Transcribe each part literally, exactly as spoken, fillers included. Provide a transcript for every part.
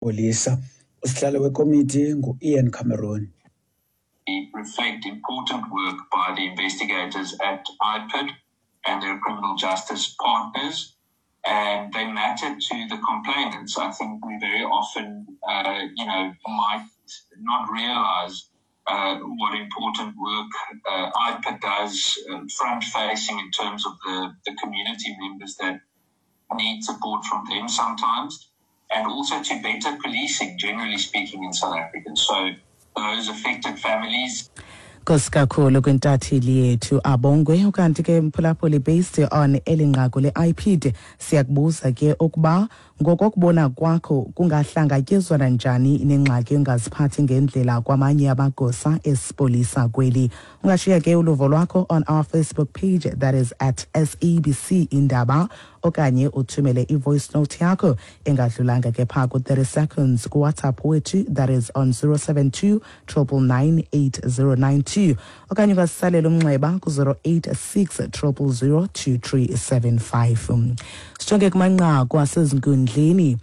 Polisa. Usihlalo wekomiti ngu-Ian Cameron. Reflect important work by the investigators at I P I D and their criminal justice partners, and they matter to the complainants. I think we very often, uh, you know, might not realize uh, what important work uh, I P I D does uh, front-facing in terms of the, the community members that need support from them sometimes, and also to better policing, generally speaking, in South Africa. So those affected families. Nkosi kakhulu kwintatheli yethu Abongwe. Ukanti ke mphulaphuli, based on eli nqaku le-I P D, siyakubuza ke ukuba ngokokubona kwakho kungahlangatyezwana njani nengxaki yongaziphathi ngendlela kwamanye amagosa esipolisa kweli. Ungashiya ke uluvo lwakho on our Facebook page, that is at S A B C Indaba, okanye uthumele i-voice note yakho engadlulanga ke phaa ku-thirty seconds ku-WhatsApp wethu, that is on zero seven two triple nine eight zero nine two, okanye ungasisalela umnxeba ku-zero eight six triple zero two three seven five. Sijonge kumanqaku asezinkundleni.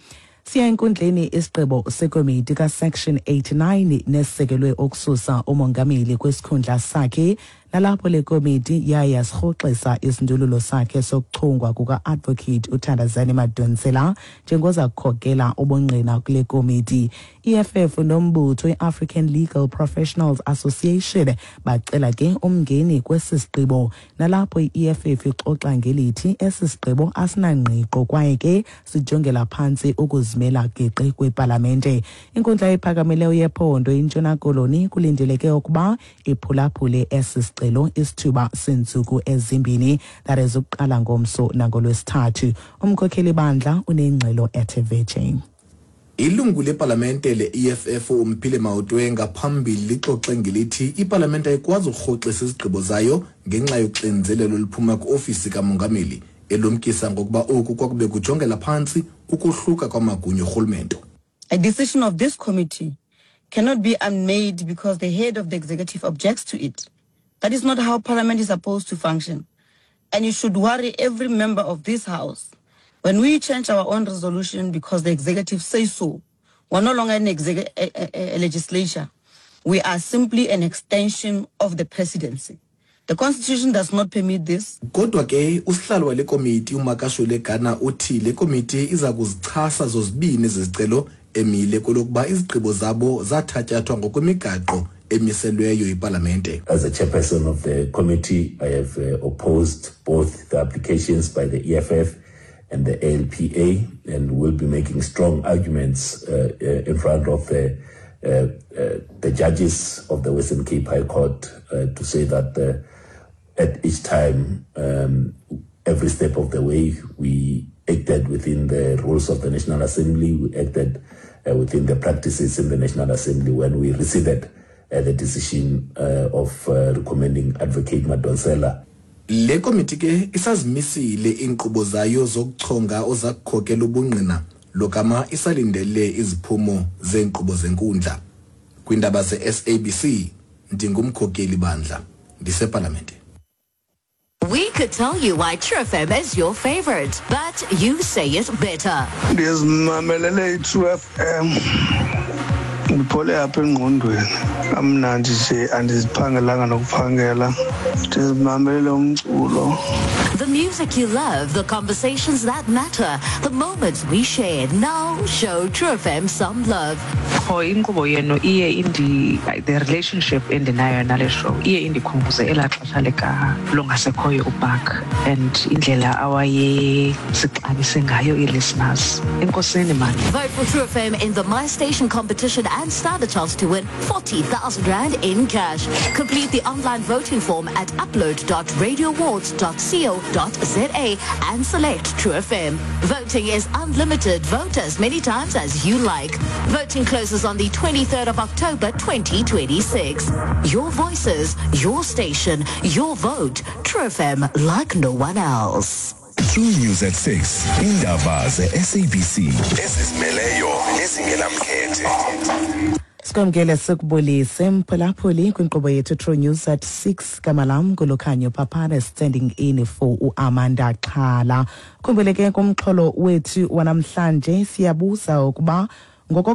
Siya enkundleni isigqibo sekomiti ka-Section eighty-nine nesisekelwe ukususa umongameli kwesikhundla sakhe, nalapho le komiti yaye yasirhoxisa isindululo sakhe sokuchongwa kuka-Advocate uThandazani Madonsela njengoza kukhokela ubungqina kule komiti. I E F F nombutho i-African Legal Professionals Association bacela ke umngeni kwesi sigqibo, nalapho i E F F ixoxa ngelithi esi sigqibo asinangqiqo kwaye ke sijongela phantsi ukuzimela geqe kwepalamente. Inkundla ephakamileyo yephondo iNtshona Koloni kulindeleke ukuba iphulaphule esi sicelo isithuba seentsuku ezimbini, that is ukuqala ngomso nangolwesithathu. Umkhokheli bandla unengxelo ethe vetshe. Ilungu lepalamente le-E F F uMphile Maotwe ngaphambili lixoxe ngelithi ipalamente ayikwazi ukurhoxisa izigqibo zayo ngenxa yoxinzelelo oluphuma kwiofisi kamongameli, elumkisa ngokuba oku kwakube kujongela phantsi ukohluka kwamagunya orhulumento. A decision of this committee cannot be unmade because the head of the executive objects to it. That is not how Parliament is supposed to function. And you should worry every member of this House. When we change our own resolution because the executive says so, we're no longer an exec-, a, a, a legislature. We are simply an extension of the presidency. The Constitution does not permit this. Kodwa ke usihlalo wale komiti uMakashule Gana uthi le komiti iza kuzichasa zozibini ezicelo emile kolokuba izigqibo zabo zathatyathwa ngokwemigaqo emiselweyo ipalamente. As a chairperson of the committee, I have, uh, opposed both the applications by the E F F and the A L P A, and will be making strong arguments, uh, uh, in front of the, uh, uh, the judges of the Western Cape High Court, uh, to say that, uh, at each time, um, every step of the way, we acted within the rules of the National Assembly, we acted, uh, within the practices in the National Assembly when we rescinded, uh, the decision, uh, of, uh, recommending Advocate Madonsela. Le komiti ke isazimisile iinkqubo zayo zokuchonga ozakukhokela ubungqina logama isalindele iziphumo zeenkqubo zenkundla. Kwiindaba ze-S A B C, ndingumkhokeli bandla, ndisepalamente. We could tell you why True F M is your favorite, but you say it better. Ndizimamelele i-True F M. Ndiphole apha engqondweni. Kamnandi nje, andiziphangelanga nokuphangela. Ndizimamelele umculo. The music you love, the conversations that matter, the moments we share. Now show True F M some love. Qho inkqubo yenu iye indi, the relationship endinayo nale show iye indikhumbuze elaa xesha lika lungasekhoyo uBark and indlela awayesixabise ngayo ii-listeners. Enkosini mani. Vote for True F M in the My Station competition and stand a chance to win forty thousand rand in cash. Complete the online voting form at upload dot radio awards dot co dot za and select True F M. Voting is unlimited. Vote as many times as you like. Voting closes on the twenty-third of October twenty twenty-six. Your voices, your station, your vote. True F M, like no one else. True News at six. Indaba ze-S A B C. Ezizimeleyo nezingenamkhethe. Sikwamkele sikubulise mphulaphuli kwinkqubo yethu True News at six. Gama lam nguLukhanyo Papane, standing in for uAmanda Xhala. Khumbuleke kumxholo wethu wanamhlanje siyabuza ukuba Ngoko